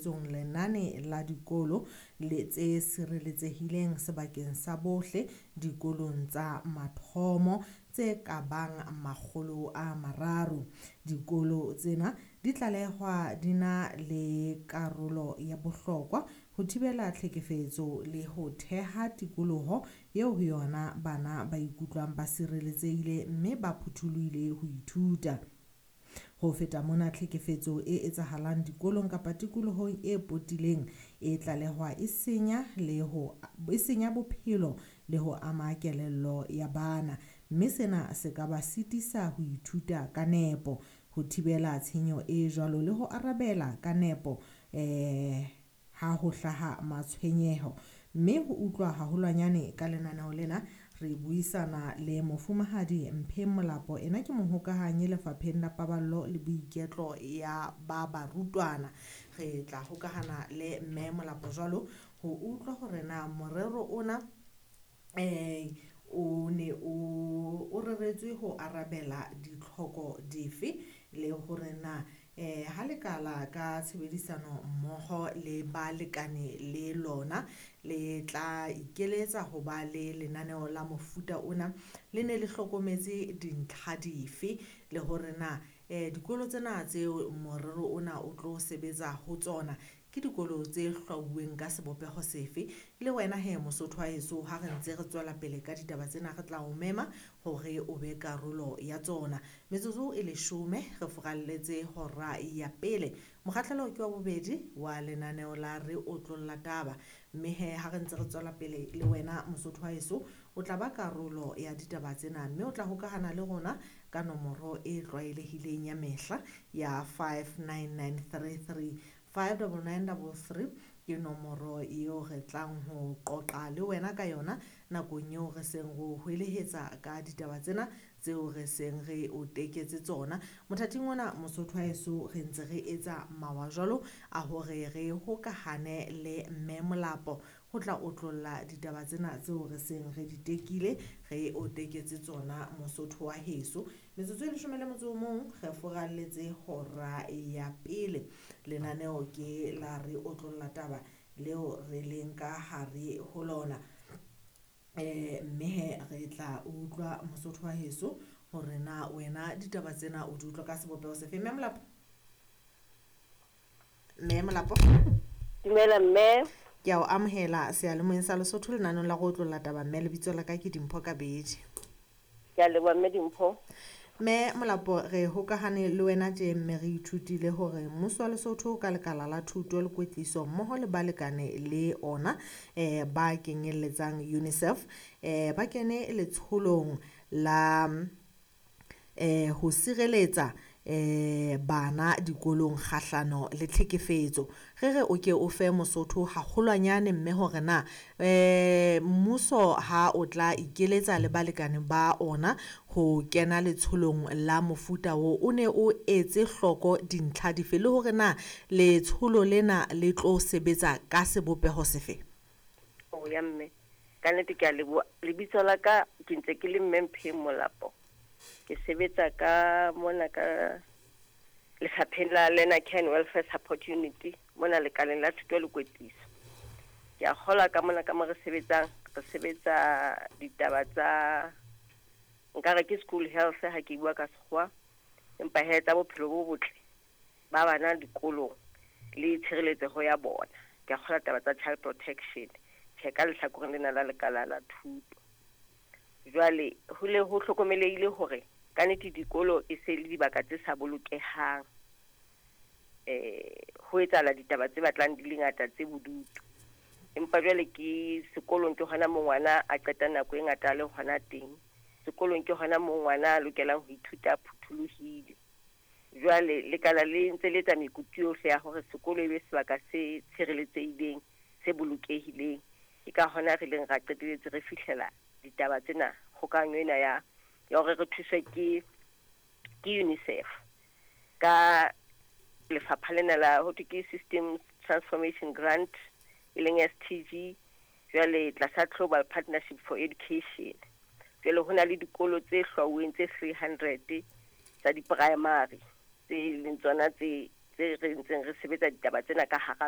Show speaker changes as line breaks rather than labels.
tshebetsong lenane la dikolo le tse sireletsehileng sebakeng sa bohle dikolong tsa mathomo tse ka bang 300. Dikolo tsena di tlalehwa di na le karolo ya bohlokwa ho thibela tlhekefetso le ho theha tikoloho eo ho yona bana ba ikutlwang ba sireletsehile mme ba phuthulohile ho ithuta. Ho feta mona, tlhekefetso e etsahalang dikolong kapa tikolohong e potileng e tlalehwa e senya le ho e senya bophelo le ho ama kelello ya bana, mme sena se ka ba sitisa ho ithuta ka nepo. Ho thibela tshenyo e jwalo le ho arabela ka nepo ha ho hlaha matshwenyeho. Mme ho utlwa haholwanyane ka lenaneo lena, re buisana le mofumahadi Mpheng Molapo. Ena ke mohokahanyi lefapheng la paballo le boiketlo ya ba barutwana. Re tla hokahana le mme Molapo jwalo ho utlwa hore na morero ona o ne o reretswe ho arabela ditlhoko dife, le hore na ha lekala ka tshebedisano mmoho le balekane le lona le tla ikeletsa ho ba le lenaneo la mofuta ona, le ne le hlokometse dintlha dife, le hore na dikolo tsena tseo morero ona o tlo sebetsa ho tsona ke dikolo tse hlwauweng ka sebopeho sefe. Le wena he Mosotho wa heso, ha re ntse re tswela pele ka ditaba tsena, re tla o mema hore o be karolo ya tsona. Metsotso e 10 re furalletse hora ya pele. Mokgahlelo ke wa bobedi wa lenaneo la Re Otlolla Taba. Mme he ha re ntse re tswela pele le wena Mosotho wa heso, o tla ba karolo ya ditaba tsena mme o tla hokahana le rona ka nomoro e tlwaelehileng ya mehla ya 59933. 59933 ke nomoro eo re tlang ho qoqa le wena ka yona nakong eo re seng re o hwelehetsa ka ditaba tsena tseo re seng re o teketse tsona. Mothating ona Mosotho wa heso, re ntse re etsa mawa jwalo a hore re hokahane le mme Molapo ho tla otlolla ditaba tsena tseo re seng re di tekile, re o teketse tsona Mosotho wa heso. Metsotso e 11 re furalletse hora ya pele. Lenaneo ke la Re Otlolla Taba leo re leng ka hare ho lona. Mme he re tla utlwa Mosotho wa heso hore na wena ditaba tsena o di utlwa ka sebopeho sefe. Mme Molapo? Mme Molapo?
Dumela mme.
Ke a o amohela seyalemoyeng sa Lesotho lenaneong la Re Otlolla Taba. Mme lebitso la ka ke Dimpho Kabedi.
Ke a leboha mme Dimpho.
Mme Molapo, re hokahane le wena tje mme re ithutile hore mmuso wa Lesotho ka lekala la thuto le kwetliso mmoho le balekane le ona ba kenyelletsang UNICEF ba kene letsholong la ho sireletsa bana dikolong kgahlano le tlhekefetso. Re re o ke o fe Mosotho haholwanyane mme hore na mmuso ha o tla ikeletsa le balekane ba ona ho kena letsholong la mofuta o, o ne o etse hloko dintlha dife, le hore na letsholo lena le tlo sebetsa ka sebopeho sefe?
O ya mme, ka nnete ke a leboha. Lebitso la ka ke ntse ke le mme Mpheng Molapo. Ke sebetsa ka mona ka lefapheng la Learner Care and Welfare Support Unit mona lekaleng la thuto le kwetliso. Ke a kgolwa ka mona ka mo re sebetsang, re sebetsa ditaba tsa nkare ke school health ha ke bua ka sekgowa, empa he tsa bophelo bo botle ba bana dikolong le tshireletseho ya bona. Ke a kgolwa taba tsa child protection tjhe ka lehlakoreng lena la lekala la thuto. Jwale ho le ho hlokomelehile hore ka nnete dikolo e se le dibaka tse sa bolokehang. Ho etsahala ditaba tse batlang di le ngata tse bodutu. Empa jwale ke sekolong ke hona moo ngwana a qeta nako e ngata a le hona teng. Sekolong ke hona moo ngwana a lokelang ho ithuta a phuthulohile. Jwale lekala le ntse le etsa mekutu yohle ya hore sekolo e be sebaka se tshireletsehileng, se bolokehileng. Ke ka hona re ileng ra qetelletse re fihlela ditaba tsena, kgokahanyo ena ya hore re thuswe ke UNICEF ka lefapha lena la ho thwe ke Systems Transformation Grant, e leng STG, jwale tlasa Global Partnership for Education. Jwale ho na le dikolo tse hlwauweng tse 300 tsa di-primary tse leng tsona tse re ntseng re sebetsa ditaba tsena ka hara